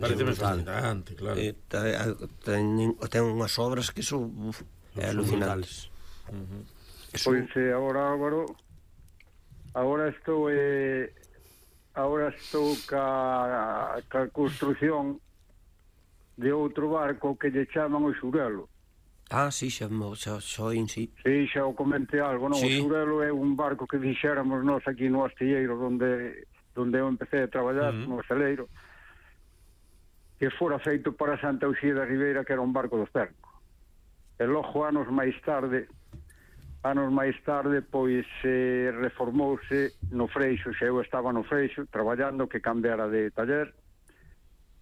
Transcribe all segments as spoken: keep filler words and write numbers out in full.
parece fascinante, claro. Eh, ten, ten unhas obras que son uf, é alucinantes. Uh-huh. Pois eh, agora, Álvaro, agora estou eh, agora estou ca, ca construción de outro barco que lle chaman o Xurelo. Ah, sí, xa, xa, xa oín, sí. Sí, xa o comentei algo, non? Sí. O Xurelo é un barco que dixéramos nós aquí no astilleiro donde, donde eu empecé a traballar, uh-huh. no asteleiro, que fora feito para Santa Uxía da Ribeira, que era un barco do Cerco. E logo, anos máis tarde, anos máis tarde, pois eh, reformouse no Freixo, xa eu estaba no Freixo, traballando, que cambiara de taller,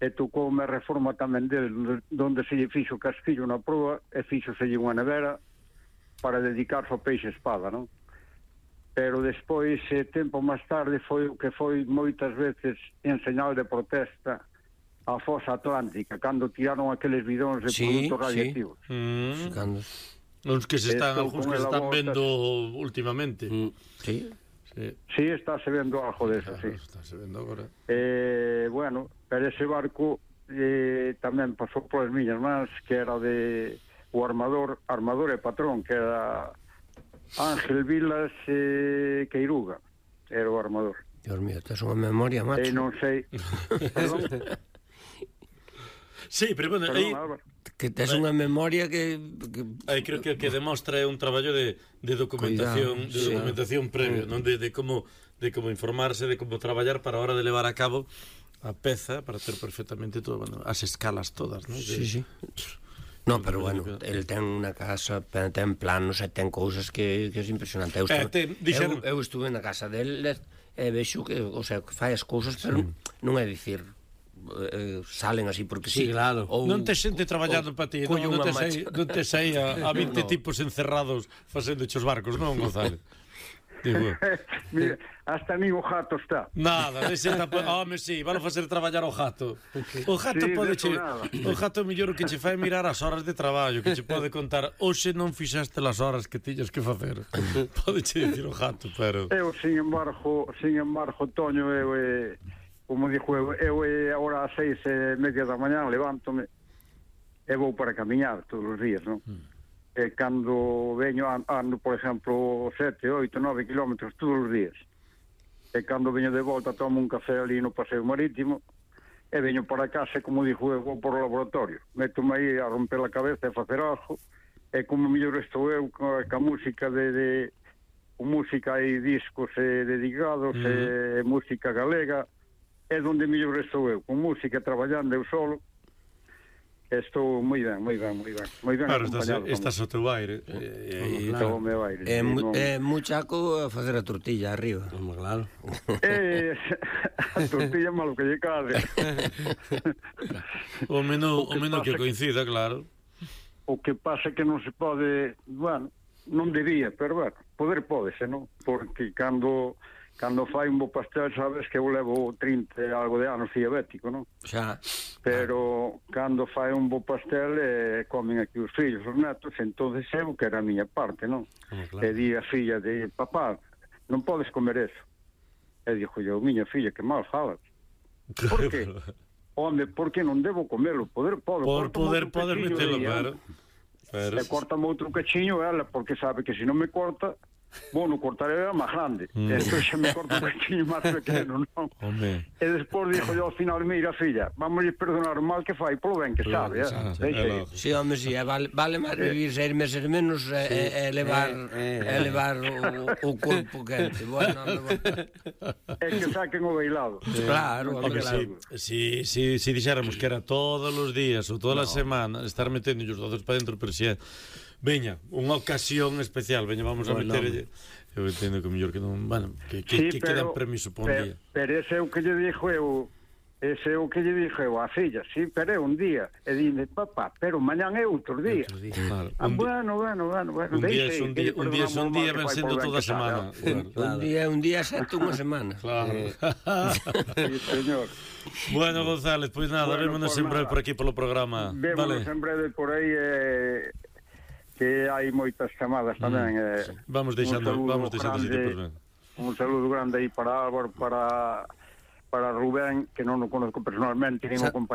e tocoume a reforma tamén del, donde se lle fixo o casquillo na proa, e fixoselle unha nevera para dedicarse ao peixe espada, non? Pero despois, eh, tempo máis tarde, foi o que foi moitas veces en señal de protesta a fosa atlántica, cando tiraron aqueles bidóns de sí, produtos radioactivos. Sí. Mm. Cando... Uns que se están, algúns que se están volta... vendo últimamente. Mm. Sí. Sí. Sí, está se vendo algo de eso, claro, sí. Está se vendo agora. Eh, bueno, pero ese barco eh, tamén pasou por as miñas mans, que era de o armador, armador e patrón, que era Ángel Vilas eh, Queiruga, era o armador. Dios mío, tes unha memoria, macho. E non sei... Perdón? Sí, pero bueno, Perdón, aí... Álvaro. Que tes unha memoria que... que... Aí creo que que demostra é un traballo de, de documentación, Cuidado, de sí. documentación previo, non de, de como de como informarse, de como traballar para a hora de levar a cabo a peza para ter perfectamente todo, bueno, as escalas todas, non? Sí, sí. No, pero bueno, el ten unha casa, ten planos e ten cousas que, que é impresionante. Eu estuve, eh, ten, dixeron... eu, eu estuve na casa del e vexo que, o sea, que fai as cousas, pero sí. non é dicir eh, salen así porque sí, sí, claro. Ou, non te xente traballando para ti, non, non te sei, non te sei a, a vinte no. tipos encerrados facendo os barcos, non, González? Digo. Mira, hasta nin o jato está. Nada, ese tapa... Home, sí, van a facer traballar o jato. O jato sí, pode che... O jato mellor que che fai mirar as horas de traballo, que che pode contar, hoxe non fixaste as horas que tiñas que facer. Pode che dicir o jato, pero... Eu, sin embargo, sin embargo, Toño, eu, eh, como dixo, eu, eu eh, agora ás seis e media da mañá levántome e vou para camiñar todos os días, non? Mm. E cando veño ando, por exemplo, sete, oito, nove kilómetros todos os días. E cando veño de volta tomo un café ali no paseo marítimo e veño para casa, como dixo, eu vou por o laboratorio. Meto-me aí a romper a cabeza e facer algo, e como mellor estou eu ca, ca música de, de con música e discos e dedicados mm. e música galega, é onde mellor estou eu, con música traballando eu solo. Estou moi ben, moi ben, moi ben, moi ben claro, acompañado. Estás, estás ao teu aire. Eh, eh, claro. O meu aire. É sí, eh, muchaco a facer a tortilla arriba. Como claro. Eh, a tortilla malo que lle cade. o menú, o, o menú que coincida, claro. O que pasa que non se pode, bueno, non debía, pero bueno, poder pódese, non? Porque cando... Cando fai un bo pastel, sabes que eu levo trinta e algo de anos diabético, non? Xa. Pero cando fai un bo pastel, eh, comen aquí os fillos, os netos, entonces eu que era a miña parte, non? Oh, claro. E di a filla de, papá, non podes comer eso. E dixo eu, miña filla, que mal falas. Por que? Home, porque non debo comelo, poder podo. Por poder, poder metelo, claro. Pero... E cortame outro cachiño ela, porque sabe que se non me corta... Bueno, cortaré era máis grande mm. Entón xa me corto un pequeño máis pequeno, non? Home. E despois dixo yo ao final, mira, filla, vamos a perdonar o mal que fai polo ben que claro, sabe, eh? Si, home, si, vale, vale máis vivir seis meses menos e, sí. e, e levar, eh, eh, e levar o, o corpo quente. Bueno, bueno. É que saquen o bailado. Sí. Claro, okay, claro. Si, si, si, si dixéramos que era todos os días ou todas as no. semanas estar metendo os doces para dentro, pero si é veña, unha ocasión especial, veña, vamos a bueno, meter. Eu entendo que o mellor que non, bueno, que, que, sí, que queda en permiso por un pero, día. Pero ese é o que lle dixo eu, ese é o que lle dixo eu a filla, sí, pero é un día. E dime, papá, pero mañán é outro día. Outro día, claro. Ah, un bueno, bueno, bueno, bueno. Un día é un día, un día é un día, ven sendo toda a semana. Un día é un día, xente unha semana. Claro. Sí, señor. Bueno, González, pois nada, vémonos en breve por aquí polo programa. Vémonos en breve por aí, eh... que hai moitas chamadas tamén. Mm, eh, sí. Vamos deixando, vamos deixando grande, un saludo grande aí para Álvaro, para para Rubén, que non o conozco personalmente, nin o compañero.